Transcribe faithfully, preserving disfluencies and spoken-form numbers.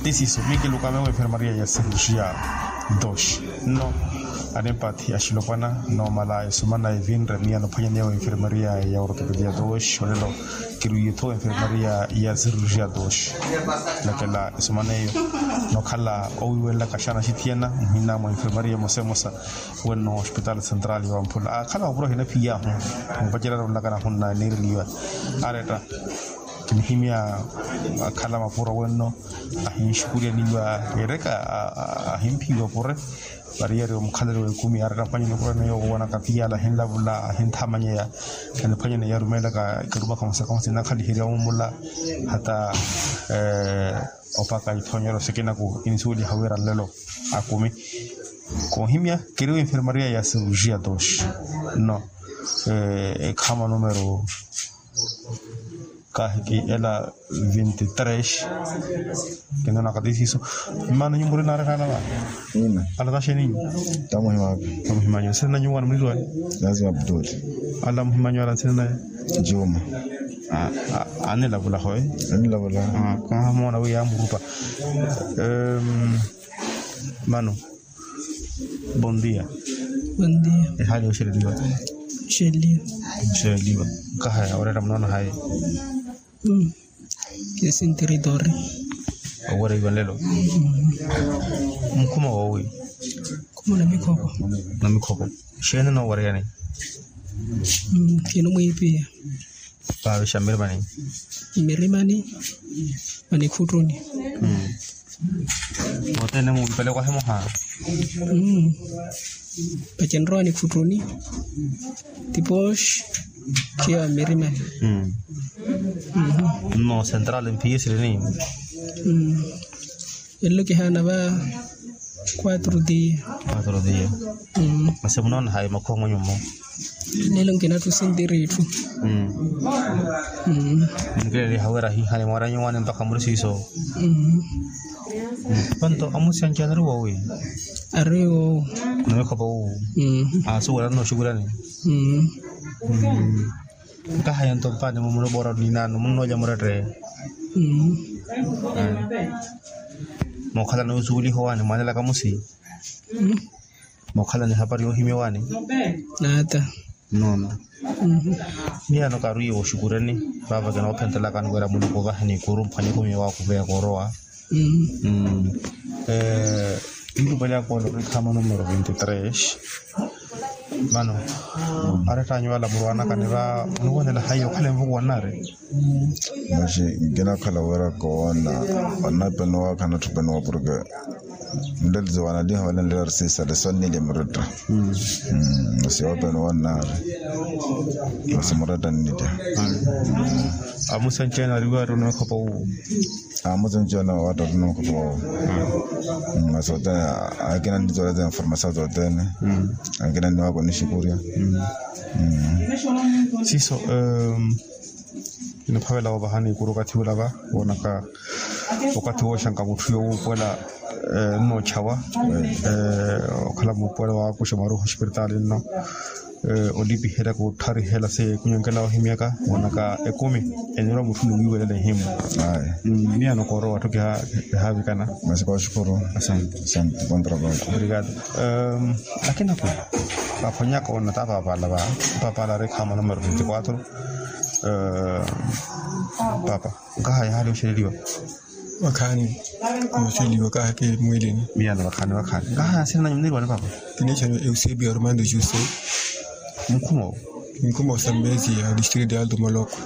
Isiso miikilukame wa enfermaria ya serusia. Dos. Nno anempathi axilopwana noomala esomana evinre miya nophwanyaneya wa enfermaria ya ortopedia dos olelo. Kirwiitho enfermaria ya serusia dos. Lakela esomana eyo nokhala owiiwenlaka xana axithiyana muhina mwa enfermaria emosa emosa. Wenno hospital central ya wamphula akhala mapuro ahina phiyaahu. Mupacerya nonlaka nahunna niireliwa aretta kinihimya. Akhala mapuro wenno ahinxukuryaniwa ereka ahimphiwa pure. Variyari omukhalelo w'ekumi aretta mphwanyani okurana yoowo wonaka phiyala ahinlavula ahinthamanyeya. Kaniphwanyani yarumeelaka ekarumaka musaka musina akhaliherya omumula hata opaka ithonyero sikinaku insuweliha wira nlelo akumi. Koohimya keriwa enfermaria ya serusia dos. No ekhama numero kahiki ela vinti tres. Kinoona katisiso. Mmano nyumburi naarikhaana va? Ina. Ala taxeninyu? Tamuhimanyu. Tamuhimanyu nsina nanyu wana mulilwani? Lazima abdul. Ala muhimanyu ala nsina naye? Juma. Anilavula hoye. Anilavula. Kahamoona wi yamurupa. Mano. Bon dia. Bon dia. Ehali oxeleliwa? Oxeleliwa. Oxeleliwa. Nkahaya oretta munoona hayi? Kesi ntirithori. Owereiwa nlelo? Mukhuma woowi? Mukhuma na mikhoko. Na mikhoko. Xeeni noowereyani? Kino mwiipiya. Vaavixa mmirimani? Mmirimani. Mani khuttuni. Othene mumpeleko ahimoha? Pacenrowa ni khuttuni. Tipooxi. Khiya mmirimani. Nno central mphiye silini? Elelo kihaana va. Quatro dia. Quatro dia. Masi munoona hayi makhuwa mwenyumo? Lelo nkinatthu sintiri itthu. Munkileliha wira ahihani mwaranyu wane mpakha muri siiso. Panto amusi anci anari woowi? Ari woowo. Namikhopa wuwu. Asuwela nno oxukulani. Nkahaya nto mpaani mumurupora ninano munnoolya muretteya. Mookhalana osuweliha owaani mwaanelaka musi. Mookhalana ehapari yoohimya owaani. Naata. Noona. Miyano kaarwiiwa oxukureni. Vaava kinoophentelakani wira muluku ovahani ikuru mphwanye ekumi waakuveya koorowa. Nlupale akoola orikhama numero vinti tres. Mano arettanyu vala murwanaka nira oniwonela hayi okhala envuku wannari? Maxi nkinakhala wira koona onapenowa khanatthu penowa porke nlelizo wanaliha wala nlera risisale sonnilya muretta. Masi wapenowa nnari. Masi muretta nnilya. Amusenceene ariwari onookhopa wuwo? Amusenceene wawatta onookhopa wuwo. Masi othene akina nnizola za informasiyo zothene. Akina nniwaka onixukurya. Siiso. Kinaphavela wovahani ikuru okathi ula va woonaka okathi wooxanka mutthu yowuupuwela nnoochawa. Okhala muupuwela waakuxa maruha ospiritaali nno olipiherya kuttharihela se kunyonkela ohimyaka woonaka ekumi. Enirwa mutthu ni wiiwelela ehimu. Miyano koorowa atthu kihaavikana. Masi kooxukuru. Asante. Asante. Bon trabalho. Obrigado. Lakini ako vaphonyaka onata paapala va paapala ari khama numero vinti quatro. Paapa nkahaya ehali oxeleliwa? Vakhaani. Oxeleliwa kahake mwilini. Miyano vakhaani vakhaani nkahaya nsina nanyu muniriwani paapa? Kineexani eusebio armando juse. Mukhuma wo? Mukhuma osambezi ya distrito ya alto moloko.